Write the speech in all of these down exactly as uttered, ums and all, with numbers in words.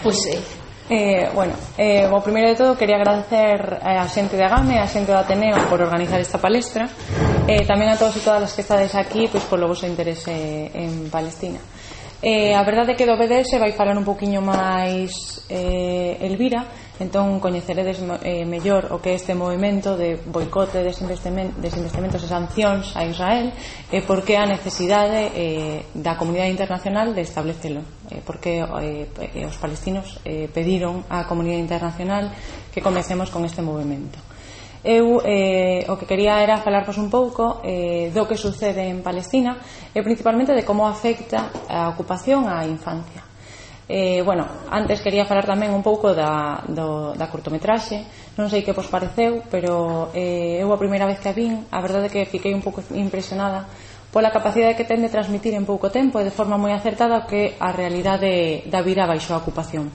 Pois é. Eh, bueno, eh, o primeiro de todo quería agradecer a xente de Agame, a xente do Ateneo por organizar esta palestra, e eh, tamén a todos e todas as que estades aquí pois polo vosso interese en Palestina. Eh, a verdade é que do B D S vai falar un poquinho máis eh, Elvira, entón coñeceredes eh, mellor o que é este movimento de boicote, desinvestimentos e sancións a Israel, e por que a necesidade eh, da comunidade internacional de establecelo, eh, porque eh, os palestinos eh, pediron á comunidade internacional que comecemos con este movimento. Eu eh, o que quería era falarvos un pouco eh, do que sucede en Palestina e principalmente de como afecta a ocupación á infancia. Eh, bueno, antes quería falar tamén un pouco da, do, da cortometraxe. Non sei que vos pareceu, pero eh, eu a primeira vez que a vin, a verdade é que fiquei un pouco impresionada pola capacidade que ten de transmitir en pouco tempo e de forma moi acertada o que a realidade da vida baixo a ocupación.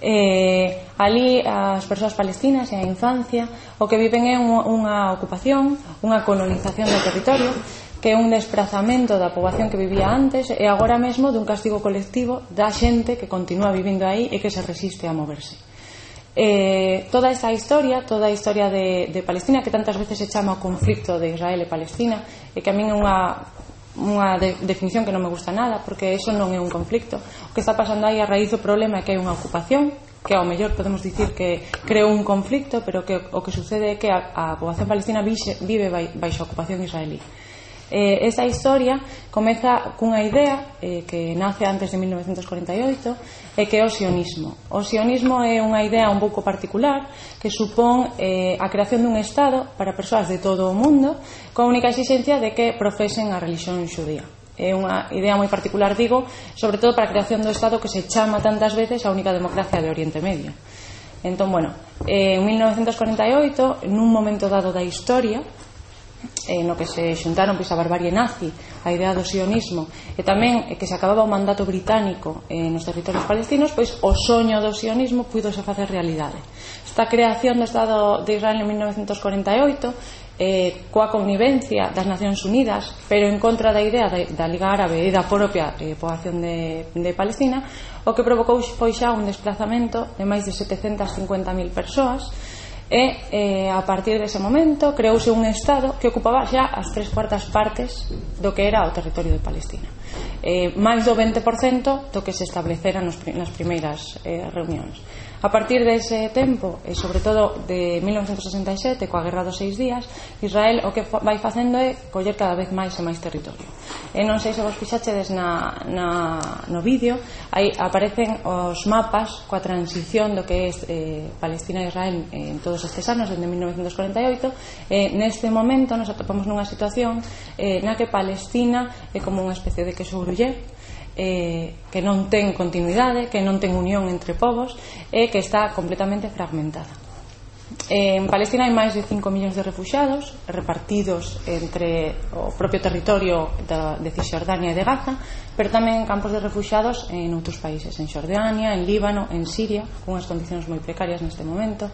Eh, ali as persoas palestinas e a infancia o que viven é un, unha ocupación, unha colonización do territorio, que é un desprazamento da poboación que vivía antes e agora mesmo dun castigo colectivo da xente que continúa vivindo aí e que se resiste a moverse. Eh, toda esta historia, toda a historia de, de Palestina, que tantas veces se chama o conflicto de Israel e Palestina, e que a min é unha, unha de, definición que non me gusta nada, porque eso non é un conflicto. O que está pasando aí a raíz do problema é que hai unha ocupación, que ao mellor podemos dicir que creou un conflicto, pero que o que sucede é que a, a poboación palestina vive, vive baixo a ocupación israelí. Eh, esta historia comeza cunha idea eh, que nace antes de mil novecientos cuarenta e oito, e que é o sionismo. O sionismo é unha idea un pouco particular que supón eh, a creación dun Estado para persoas de todo o mundo con a única exigencia de que profesen a religión xudía. É unha idea moi particular, digo, sobre todo para a creación do Estado que se chama tantas veces a única democracia de Oriente Medio. Entón, bueno, en mil novecientos cuarenta e oito, nun momento dado da historia, Eh, no que se xuntaron pois, a barbarie nazi, a idea do sionismo, e tamén eh, que se acababa o mandato británico eh, nos territorios palestinos, pois o soño do sionismo puidose facer realidade. Esta creación do Estado de Israel en mil novecientos cuarenta e oito, eh, coa connivencia das Nacións Unidas, pero en contra da idea da, da Liga Árabe e da propia eh, poboación de, de Palestina, o que provocou foi xa un desplazamento de máis de setecentas cincuenta mil persoas. E eh, a partir dese momento creouse un Estado que ocupaba xa as tres cuartas partes do que era o territorio de Palestina, eh, máis do vinte por cento do que se establecera nos, nas primeiras eh, reunións. A partir dese tempo, e sobre todo de mil novecientos sesenta e sete, coa Guerra dos Seis Días, Israel o que vai facendo é coller cada vez máis e máis territorio. E non sei se vos fixachedes na, na, no vídeo, aí aparecen os mapas coa transición do que é eh, Palestina e Israel en todos estes anos, desde mil novecientos cuarenta e oito. E neste momento nos atopamos nunha situación eh, na que Palestina é como unha especie de queso gruyer, Eh, que non ten continuidade, que non ten unión entre povos e que está completamente fragmentada. Eh, en Palestina hai máis de cinco millóns de refuxiados repartidos entre o propio territorio da, de Cisjordania e de Gaza, pero tamén campos de refuxiados en outros países, en Xordania, en Líbano, en Siria, con unhas condicións moi precarias neste momento.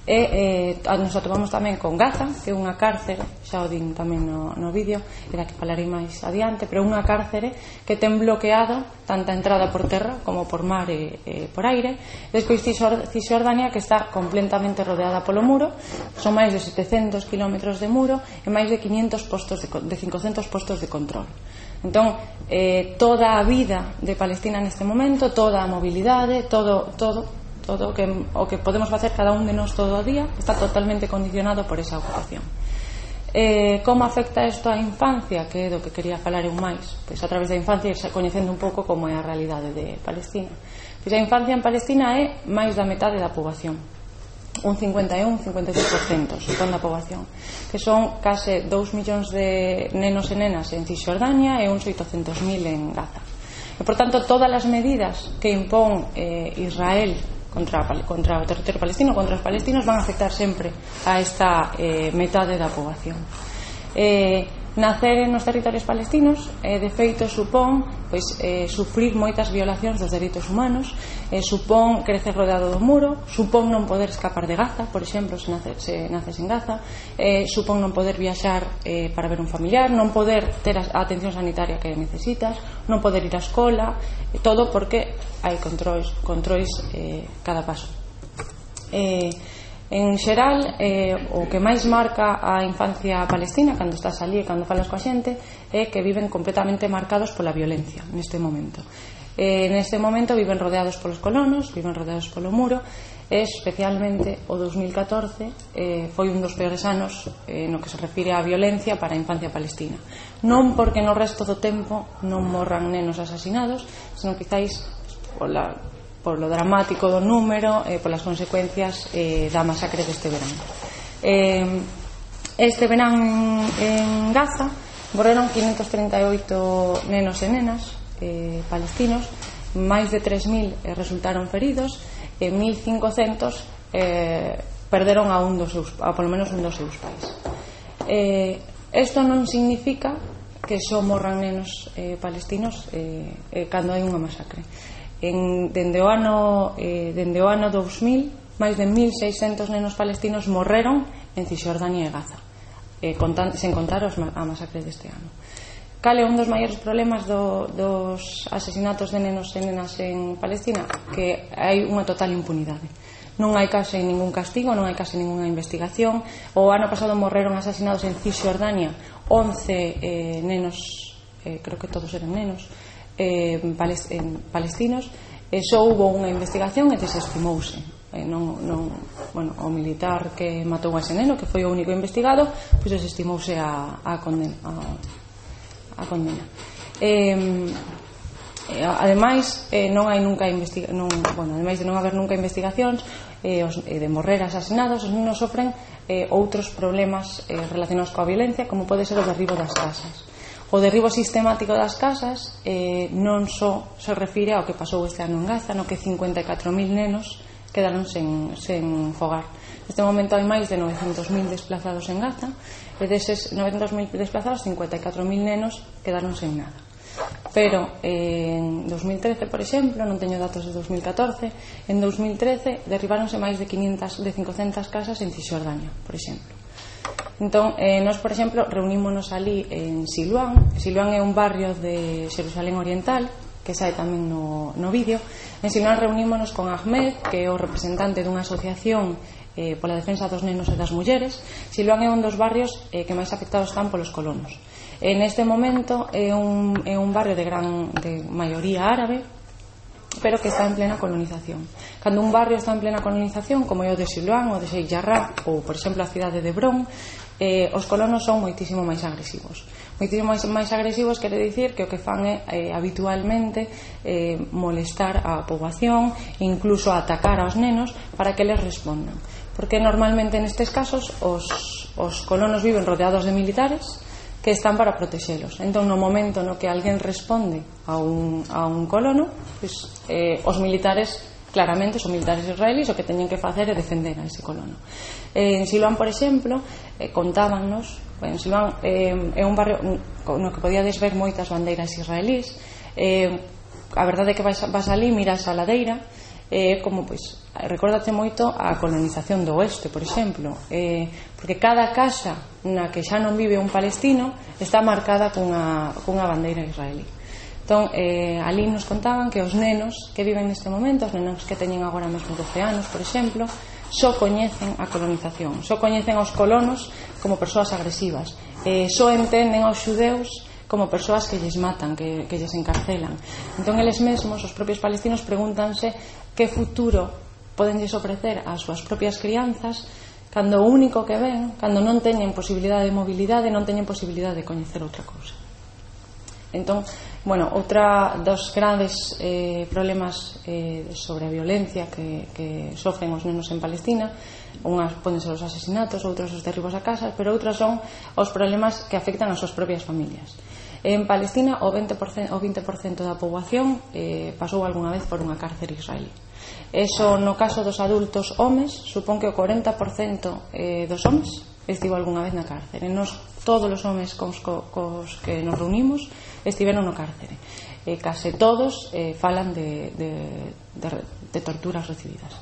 E eh, nos atopamos tamén con Gaza, que é unha cárcere, xa o din tamén no, no vídeo, e da que falarei máis adiante, pero unha cárcere que ten bloqueado tanta entrada por terra como por mar e, e por aire. Despois Cisjordania, que está completamente rodeada polo muro, son máis de setecentos kilómetros de muro e máis de quinientos postos de, de cincocentos postos de control. Entón, eh, toda a vida de Palestina neste momento, toda a mobilidade, todo, todo todo o que, o que podemos facer cada un de nós todo o día está totalmente condicionado por esa ocupación. Eh, como afecta isto á infancia, que é do que quería falar eu máis? Pois a través da infancia ir coñecendo un pouco como é a realidade de Palestina. Pois a infancia en Palestina é máis da metade da poboación, un cincuenta e un, cincuenta e dous por cento supón da poboación, que son case dous millóns de nenos e nenas en Cisjordania e uns oitocentos mil en Gaza. E, por tanto, todas as medidas que impón eh, Israel Contra, contra o territorio palestino, contra os palestinos, van a afectar sempre a esta eh, metade da poboación. Eh, Nacer nos territorios palestinos, eh, de feito, supón pois, eh, sufrir moitas violacións dos dereitos humanos, eh, supón crecer rodeado do muro, supón non poder escapar de Gaza, por exemplo, se naces, se naces en Gaza, eh, supón non poder viaxar eh, para ver un familiar, non poder ter a atención sanitaria que necesitas, non poder ir á escola, eh, todo porque hai controis, controis eh, cada paso. Eh, En xeral, eh, o que máis marca a infancia palestina cando estás ali e cando falas coa xente é que viven completamente marcados pola violencia neste momento. Eh, neste momento viven rodeados polos colonos, viven rodeados polo muro, e especialmente o dos mil catorce eh, foi un dos peores anos eh, no que se refire á violencia para a infancia palestina. Non porque no resto do tempo non morran nenos asasinados, senón quizáis pola por lo dramático do número e eh, polas consecuencias eh, da masacre deste verán. Eh, este verán en Gaza morreron quinhentos trinta e oito nenos e nenas eh, palestinos, máis de tres mil eh, resultaron feridos e mil cincocentos eh, perderon a un dos seus, a polo menos un dos seus pais. Isto eh, non significa que só morran nenos eh, palestinos eh, eh, cando hai unha masacre. En, dende, o ano, eh, dende o ano dous mil, máis de mil seiscentos nenos palestinos morreron en Cisjordania e Gaza, eh, contan, sen contar os, a masacre deste ano. Cal é un dos maiores problemas do, dos asesinatos de nenos e nenas en Palestina? Que hai unha total impunidade. Non hai case ningún castigo, non hai case ninguna investigación. O ano pasado morreron asesinados en Cisjordania once eh, nenos, eh, creo que todos eran nenos, Eh, en palestinos, e só hubo unha investigación e desestimouse. Eh, non, non, bueno, o militar que matou a ese neno, que foi o único investigado, pois desestimouse a, a condena. A, a condena. Eh, eh, ademais, eh, non hai nunca investiga non, bueno, ademais de non haber nunca investigacións eh, os, eh, de morrer asasinados, os nenos sofren eh, outros problemas eh, relacionados coa violencia, como pode ser o derribo das casas. O derribo sistemático das casas eh, non só se refire ao que pasou este ano en Gaza, no que cincuenta e catro mil nenos quedaron sen, sen fogar. Neste momento hai máis de novecentos mil desplazados en Gaza, e deses novecentos mil desplazados, cincuenta e catro mil nenos quedaron sen nada. Pero eh, en dos mil trece, por exemplo, non teño datos de dos mil catorce, en dos mil trece derribáronse máis de quinientas, de cincocentas casas en Cisjordania, por exemplo. Entón, eh, nós, por exemplo, reunímonos ali en Siluán. Siluán é un barrio de Xerusalén Oriental, que sae tamén no, no vídeo. En Siluán reunímonos con Ahmed, que é o representante dunha asociación eh, pola defensa dos nenos e das mulleres. Siluán é un dos barrios eh, que máis afectados están polos colonos. En este momento é un, é un barrio de gran de maioría árabe, pero que está en plena colonización. Cando un barrio está en plena colonización, como é o de Siluán, o de Sheikh Jarrah, ou, por exemplo, a cidade de Hebrón, eh, os colonos son moitísimo máis agresivos. Moitísimo máis, máis agresivos quere dicir que o que fan é eh, habitualmente eh, molestar a poboación, incluso atacar aos nenos para que les respondan. Porque normalmente nestes casos os, os colonos viven rodeados de militares que están para protexelos. Entón, no momento no que alguén responde a un, a un colono, pues, eh, os militares, claramente, son militares israelíes, o que teñen que facer é defender a ese colono. Eh, en Siluán, por exemplo, eh, contábannos, en Siluán eh, é un barrio no que podíades ver moitas bandeiras israelíes. Eh, a verdade é que vas, vas ali, miras a ladeira, eh, como, pois, recórdate moito a colonización do oeste, por exemplo, eh, porque cada casa na que xa non vive un palestino está marcada cunha, cunha bandeira israelí. Entón, eh, ali nos contaban que os nenos que viven neste momento, os nenos que teñen agora mesmo doce anos, por exemplo, só coñecen a colonización, só coñecen aos colonos como persoas agresivas, eh, só entenden aos xudeus como persoas que lles matan, que, que lles encarcelan. Entón, eles mesmos, os propios palestinos, pregúntanse que futuro poden lles ofrecer ás súas propias crianzas cando o único que ven, cando non teñen posibilidade de mobilidade, non teñen posibilidade de coñecer outra cousa. Entón, bueno, outra dos grandes eh, problemas eh, sobre a violencia que, que sofren os nenos en Palestina, unhas poden ser os asesinatos, outros os derribos a casas, pero outras son os problemas que afectan as súas propias familias. En Palestina o vinte por cento, o vinte por cento da poboación eh, pasou algunha vez por unha cárcere israelí. Eso, no caso dos adultos homes, supón que o corenta por cento eh, dos homes estivo algunha vez na cárcere. Nos, todos os homes cos, cos que nos reunimos estiveron no cárcere. E case todos eh, falan de, de, de, de torturas recibidas.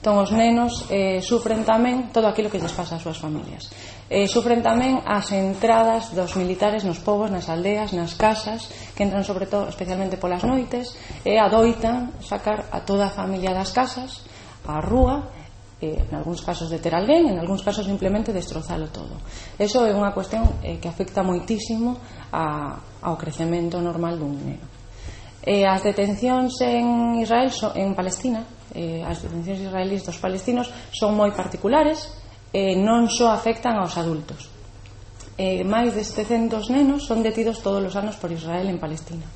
Entón, os nenos eh, sufren tamén todo aquilo que lles pasa ás súas familias. Eh, sufren tamén as entradas dos militares nos pobos, nas aldeas, nas casas, que entran sobre todo, especialmente polas noites, e adoitan sacar a toda a familia das casas á rúa, eh, en algúns casos de ter alguén, en algúns casos simplemente destrozalo todo. Eso é unha cuestión eh, que afecta moitísimo a, ao crecemento normal dun neno. Eh, as detencións en Israel, so, en Palestina, eh, as detencións israelíes dos palestinos son moi particulares, eh, non só afectan aos adultos. Eh, máis de setecentos nenos son detidos todos os anos por Israel en Palestina.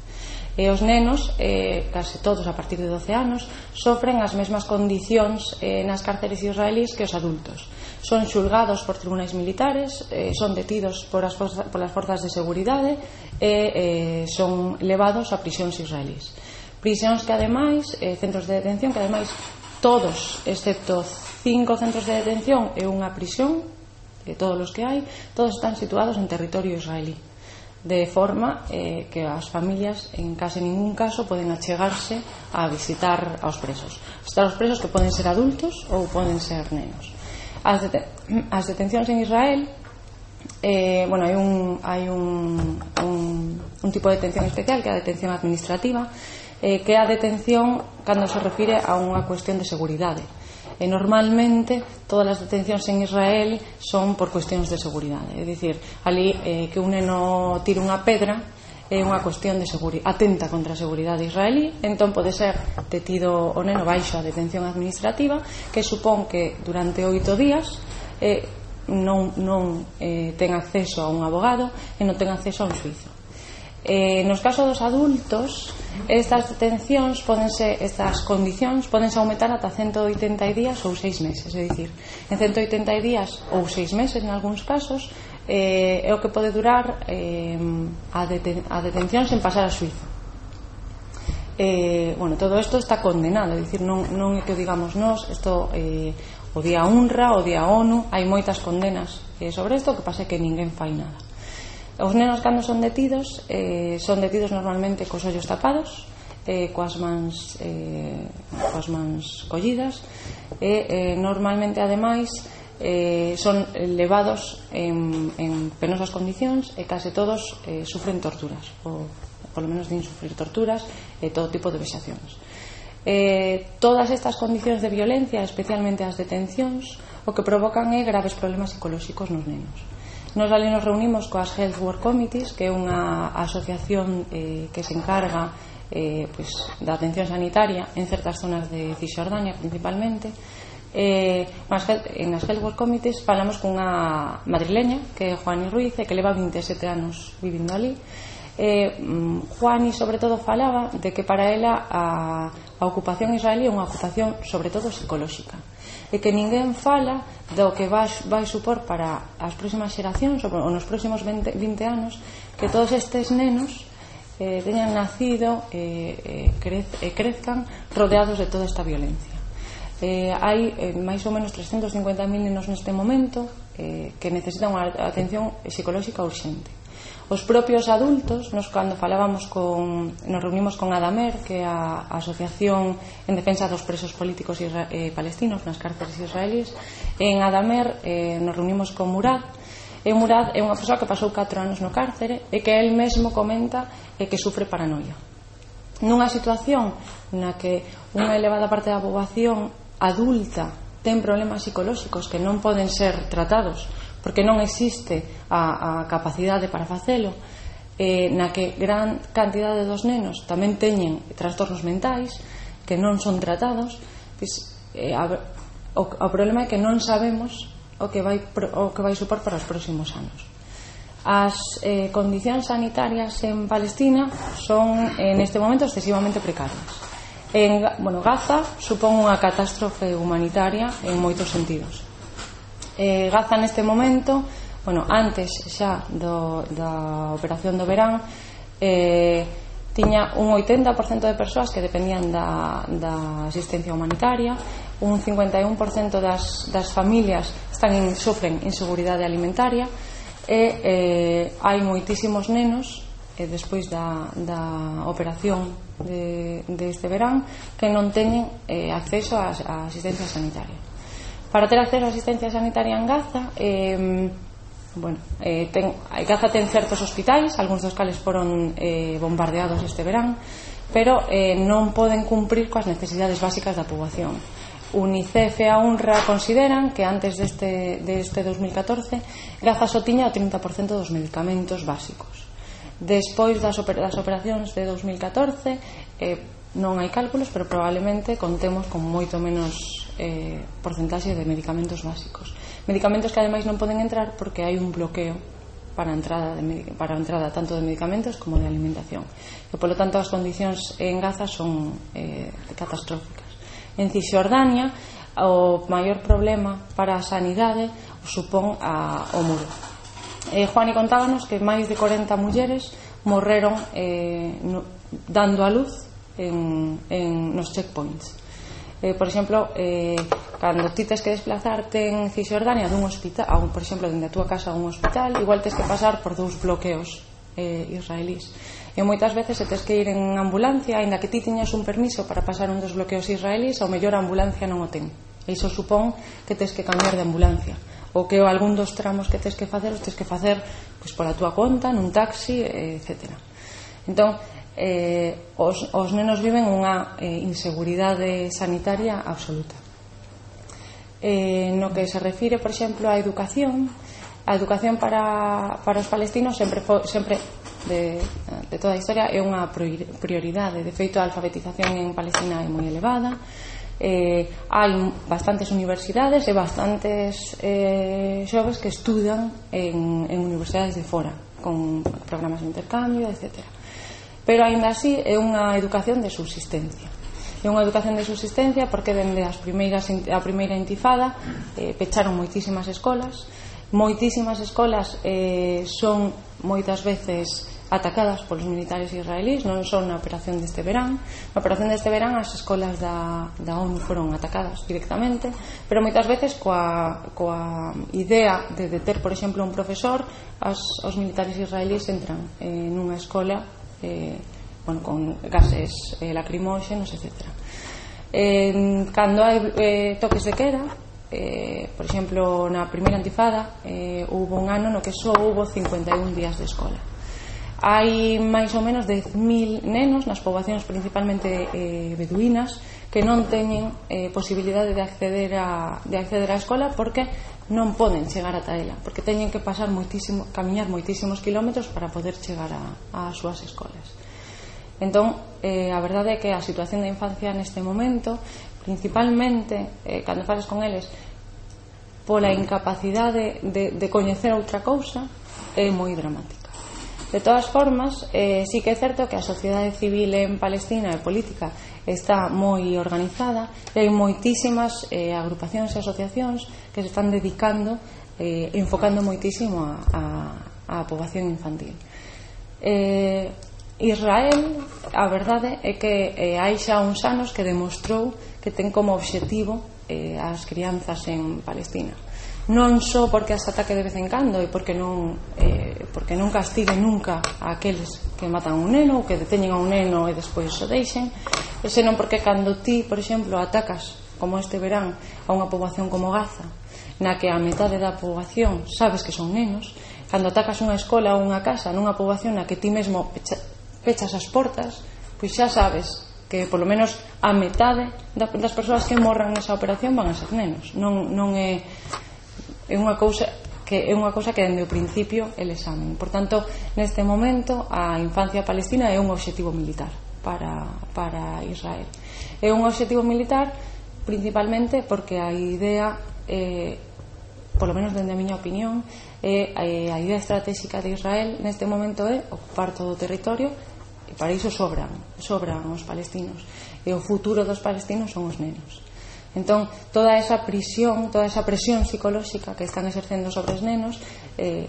E os nenos, eh, case todos a partir de doce anos, sofren as mesmas condicións eh, nas cárceres israelíes que os adultos. Son xulgados por tribunais militares, eh, son detidos por as, forza, por as forzas de seguridade e eh, son levados a prisións israelíes. Prisións que ademais, eh, centros de detención que ademais todos, excepto cinco centros de detención e unha prisión, de todos os que hai, todos están situados en territorio israelí, de forma eh, que as familias en case ningún caso poden achegarse a visitar aos presos. Visitar aos presos que poden ser adultos ou poden ser nenos. As, deten as detencións en Israel, eh, bueno, hai un hai un, un, un tipo de detención especial que é a detención administrativa, eh, que é a detención cando se refire a unha cuestión de seguridade. E normalmente todas as detencións en Israel son por cuestións de seguridade, é dicir, ali eh, que un neno tire unha pedra é unha cuestión de seguridade, atenta contra a seguridade israelí, entón pode ser detido o neno baixo a detención administrativa, que supón que durante oito días eh, non, non eh, ten acceso a un abogado e non ten acceso a un xuízo. Eh, nos casos dos adultos, estas detencións podense, estas condicións podense aumentar ata ciento oitenta días ou seis meses, é dicir, en ciento oitenta días ou seis meses en algúns casos eh, é o que pode durar eh, a, deten a detención sen pasar a xuízo. Eh, bueno, todo isto está condenado, é dicir, non, non é que o digamos nós, isto eh, o día UNRWA, o día ONU, hai moitas condenas eh, sobre isto, o que pasa é que ninguén fai nada. Os nenos cando son detidos eh, son detidos normalmente cos ollos tapados, eh, coas mans eh, coas mans collidas e eh, normalmente ademais eh, son levados en, en penosas condicións e case todos eh, sufren torturas, ou polo menos din sufrir torturas e todo tipo de vexacións. Eh, todas estas condicións de violencia, especialmente as detencións, o que provocan é graves problemas psicolóxicos nos nenos. Nos ali nos reunimos coas Health Work Committees, que é unha asociación eh, que se encarga eh, pues, da atención sanitaria en certas zonas de Cisjordania principalmente. Eh, en as Health Work Committees falamos cunha madrileña que é Juani Ruiz, que leva vinte e sete anos vivindo ali. eh, Juani sobre todo falaba de que para ela a, a ocupación israelí é unha ocupación sobre todo psicolóxica, e que ninguén fala do que vai, vai supor para as próximas xeracións ou nos próximos vinte anos que todos estes nenos eh, teñan nacido e eh, crez, eh, crezcan rodeados de toda esta violencia. Eh, hai eh, máis ou menos trescentos cincuenta mil nenos neste momento eh, que necesitan unha atención psicolóxica urxente. Os propios adultos, nos cando falábamos con, nos reunimos con Adamer, que é a, a asociación en defensa dos presos políticos isra, eh, palestinos nas cárceles israelíes. En Adamer eh, nos reunimos con Murad, e Murad é unha persoa que pasou catro anos no cárcere e que el mesmo comenta eh, que sufre paranoia. Nunha situación na que unha elevada parte da poboación adulta ten problemas psicolóxicos que non poden ser tratados porque non existe a, a capacidade para facelo, eh, na que gran cantidade dos nenos tamén teñen trastornos mentais que non son tratados, pues, eh, a, o, o problema é que non sabemos o que vai, o que vai supor para os próximos anos. As eh, condicións sanitarias en Palestina son en este momento excesivamente precarias. En bueno, Gaza supón unha catástrofe humanitaria en moitos sentidos. Eh, Gaza neste momento, bueno, antes xa do, da operación do verán, eh, tiña un oitenta por cento de persoas que dependían da, da asistencia humanitaria, un cincuenta e un por cento das, das familias están in, sofren inseguridade alimentaria e eh, hai moitísimos nenos eh, despois da, da operación de, de este verán que non teñen eh, acceso a, a asistencia sanitaria. Para ter acceso a asistencia sanitaria en Gaza, eh, bueno, eh, ten, Gaza ten certos hospitais, algúns dos cales foron eh, bombardeados este verán, pero eh, non poden cumprir coas necesidades básicas da poboación. UNICEF e a UNRWA consideran que antes deste, deste dos mil catorce Gaza só tiña o trinta por cento dos medicamentos básicos. Despois das, oper das operacións de dos mil catorce eh, non hai cálculos, pero probablemente contemos con moito menos eh, porcentaxe de medicamentos básicos, medicamentos que ademais non poden entrar porque hai un bloqueo para a entrada, de, para a entrada tanto de medicamentos como de alimentación, e polo tanto as condicións en Gaza son eh, catastróficas. En Cisjordania o maior problema para a sanidade o supón a, o muro. eh, Juani contábanos que máis de corenta mulleres morreron eh, no, dando a luz en, en nos checkpoints. eh, Por exemplo, eh, cando ti tes que desplazarte en Cisjordania dun hospital, a un, por exemplo, dende a túa casa a un hospital, igual tes que pasar por dous bloqueos eh, israelís. E moitas veces se tes que ir en ambulancia, aínda que ti tiñas un permiso para pasar un dos bloqueos israelís, ao mellor a ambulancia non o ten. E iso supón que tes que cambiar de ambulancia, ou que algún dos tramos que tes que facer os tes que facer pois, pola túa conta, nun taxi, etcétera. Entón, eh, os, os nenos viven unha eh, inseguridade sanitaria absoluta. Eh, no que se refire, por exemplo, á educación, a educación para, para os palestinos sempre, fo, sempre de, de toda a historia é unha prioridade. De feito, a alfabetización en Palestina é moi elevada. Eh, hai bastantes universidades e bastantes eh, xoves que estudan en, en universidades de fora con programas de intercambio, etcétera. Pero aínda así é unha educación de subsistencia. É unha educación de subsistencia porque dende as primeiras, a primeira intifada eh, pecharon moitísimas escolas. Moitísimas escolas eh, son moitas veces atacadas polos militares israelís, non son na operación deste verán. Na operación deste verán as escolas da, da ONU foron atacadas directamente, pero moitas veces coa, coa idea de deter, por exemplo, un profesor, as, os militares israelís entran eh, nunha escola eh, bueno, con gases eh, lacrimóxenos, etcétera. Eh, cando hai eh, toques de queda, eh, por exemplo, na primeira intifada eh, houve un ano no que só houve cincuenta e un días de escola. Hai máis ou menos dez mil nenos nas poboacións principalmente eh, beduínas que non teñen eh, posibilidade de acceder a, de acceder á escola porque non poden chegar ata ela, porque teñen que pasar moitísimo, camiñar moitísimos kilómetros para poder chegar a, a súas escolas. Entón, eh, a verdade é que a situación da infancia neste momento, principalmente eh, cando falas con eles, pola incapacidade de, de coñecer outra cousa, é moi dramática. De todas formas, eh, sí que é certo que a sociedade civil en Palestina e política está moi organizada e hai moitísimas eh, agrupacións e asociacións que se están dedicando, eh, enfocando moitísimo a, a, a poboación infantil. Eh, Israel, a verdade é que eh, hai xa uns anos que demostrou que ten como obxectivo eh, as crianzas en Palestina. Non só porque as ataque de vez en cando e porque non eh, porque non castigue nunca a aqueles que matan a un neno ou que deteñen a un neno e despois o deixen, senón porque cando ti, por exemplo, atacas como este verán a unha poboación como Gaza, na que a metade da poboación sabes que son nenos, cando atacas unha escola ou unha casa nunha poboación na que ti mesmo pecha, pechas as portas, pois xa sabes que polo menos a metade das persoas que morran nesa operación van a ser nenos. Non, non é é unha cousa que é unha cousa que dende o principio eles saben. Por tanto, neste momento a infancia palestina é un obxectivo militar para, para Israel. É un obxectivo militar principalmente porque a idea eh, polo menos dende a miña opinión é a idea estratégica de Israel neste momento é ocupar todo o territorio e para iso sobran sobran os palestinos e o futuro dos palestinos son os nenos. Entón, toda esa prisión, toda esa presión psicolóxica que están exercendo sobre os nenos eh,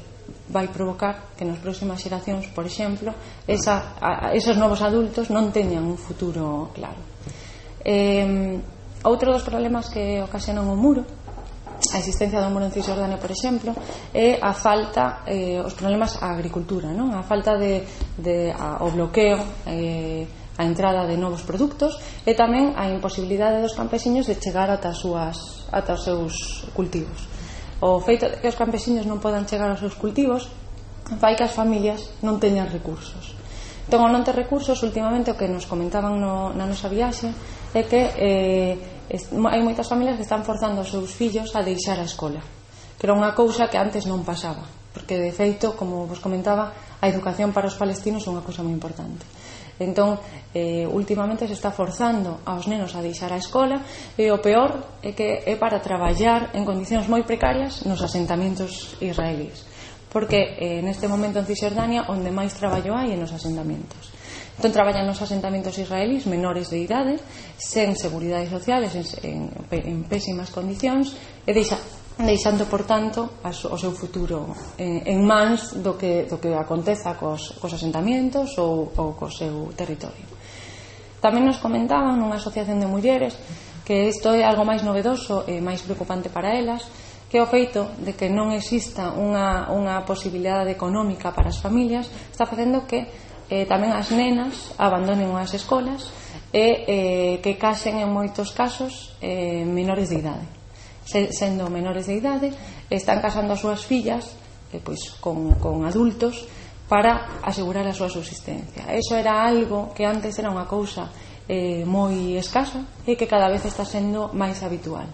vai provocar que nas próximas xeracións, por exemplo, esa, a, esos novos adultos non teñan un futuro claro. Eh, outro dos problemas que ocasionan o muro, a existencia do muro en Cisjordania, por exemplo, é a falta, eh, os problemas á agricultura, non? A falta de, de a, o bloqueo, eh, a entrada de novos produtos e tamén a imposibilidade dos campesiños de chegar ata, as súas, ata os seus cultivos. O feito de que os campesiños non podan chegar aos seus cultivos fai que as familias non teñan recursos. Entón, ao non ter recursos, últimamente o que nos comentaban no, na nosa viaxe é que eh, hai moitas familias que están forzando os seus fillos a deixar a escola, que era unha cousa que antes non pasaba, porque de feito, como vos comentaba, a educación para os palestinos é unha cousa moi importante. Entón, eh, últimamente se está forzando aos nenos a deixar a escola e o peor é que é para traballar en condicións moi precarias nos asentamentos israelíes, porque eh, neste momento en Cisjordania onde máis traballo hai é nos asentamentos. Entón traballan nos asentamentos israelíes menores de idade, sen seguridade sociales, en, en, en pésimas condicións e deixa, deixando, por tanto, as, o seu futuro en, en mans do que, do que aconteza cos, cos asentamentos ou, ou co seu territorio. Tamén nos comentaban nunha asociación de mulleres que isto é algo máis novedoso e máis preocupante para elas, que o feito de que non exista unha, unha posibilidade económica para as familias está facendo que eh, tamén as nenas abandonen as escolas e eh, que casen en moitos casos eh, menores de idade. Se, sendo menores de idade, están casando as súas fillas eh, pois, con, con adultos para asegurar a súa subsistencia. Eso era algo que antes era unha cousa eh, moi escasa e que cada vez está sendo máis habitual,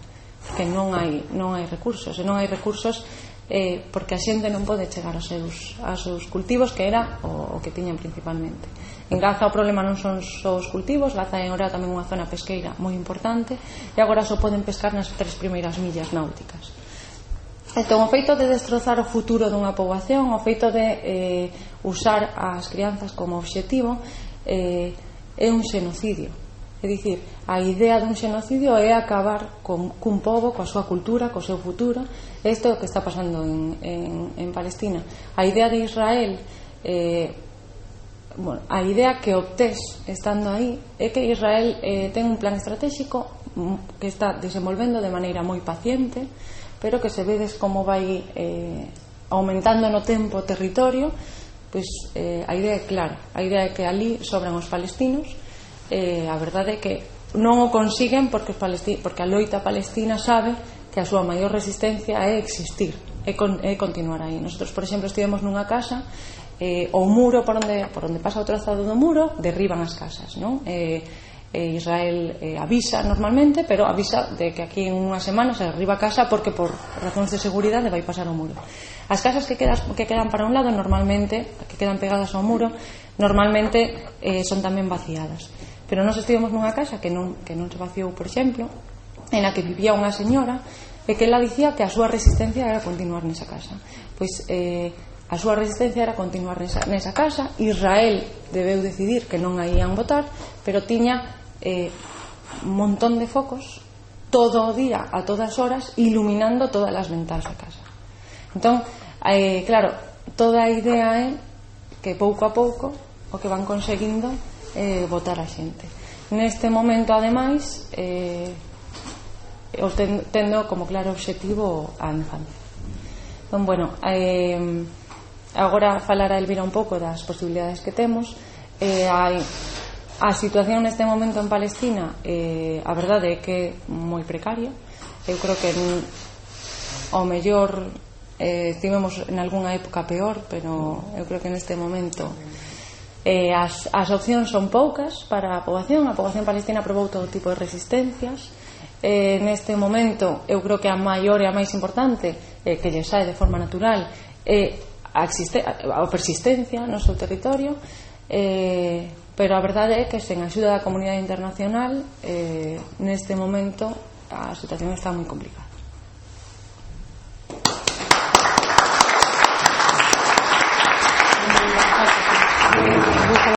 que non hai, non hai recursos, e non hai recursos eh, porque a xente non pode chegar aos seus, aos seus cultivos, que era o, o que tiñan principalmente. En Gaza o problema non son só os cultivos, Gaza é agora tamén unha zona pesqueira moi importante e agora só poden pescar nas tres primeiras millas náuticas. Entón, o feito de destrozar o futuro dunha poboación, o feito de eh, usar as crianzas como obxectivo eh, é un xenocidio. É dicir, a idea dun xenocidio é acabar con, cun pobo, coa súa cultura, co seu futuro. Isto é o que está pasando en, en, en Palestina. A idea de Israel, eh, bueno, a idea que obtés estando aí é que Israel eh, ten un plan estratégico que está desenvolvendo de maneira moi paciente, pero que se vedes como vai eh, aumentando no tempo o territorio, pois eh, a idea é clara. A idea é que ali sobran os palestinos. Eh, a verdade é que non o consiguen porque, os palesti- porque a loita palestina sabe que a súa maior resistencia é existir, é, con- é continuar aí. Nosotros, por exemplo, estivemos nunha casa, eh, o muro por onde, por onde pasa o trazado do muro derriban as casas, non? Eh, eh, Israel eh, avisa normalmente, pero avisa de que aquí en unha semana se derriba a casa porque por razóns de seguridade vai pasar o muro. As casas que, quedas, que quedan para un lado normalmente, que quedan pegadas ao muro, normalmente eh, son tamén vaciadas. Pero nós estivemos nunha casa que non, que non se vaciou, por exemplo, en a que vivía unha señora e que ela dicía que a súa resistencia era continuar nesa casa. Pois eh, a súa resistencia era continuar nesa, nesa casa. Israel debeu decidir que non a ían votar, pero tiña eh, un montón de focos todo o día, a todas horas, iluminando todas as ventás da casa. Entón, eh, claro, toda a idea é que pouco a pouco o que van conseguindo Eh, votar a xente. Neste momento, ademais, eh, tendo como claro obxectivo a infancia. Entón, bueno, eh, agora falará Elvira un pouco das posibilidades que temos. Eh, hai, a situación neste momento en Palestina, eh, a verdade é que é moi precaria. Eu creo que en, ao mellor eh, tivemos en algunha época peor, pero eu creo que neste momento Eh, as, as opcións son poucas para a poboación. A poboación palestina aprobou todo tipo de resistencias. Eh, neste momento eu creo que a maior e a máis importante eh, que lle sae de forma natural é a, a persistencia no seu territorio, eh, pero a verdade é que sen a axuda da comunidade internacional eh, neste momento a situación está moi complicada.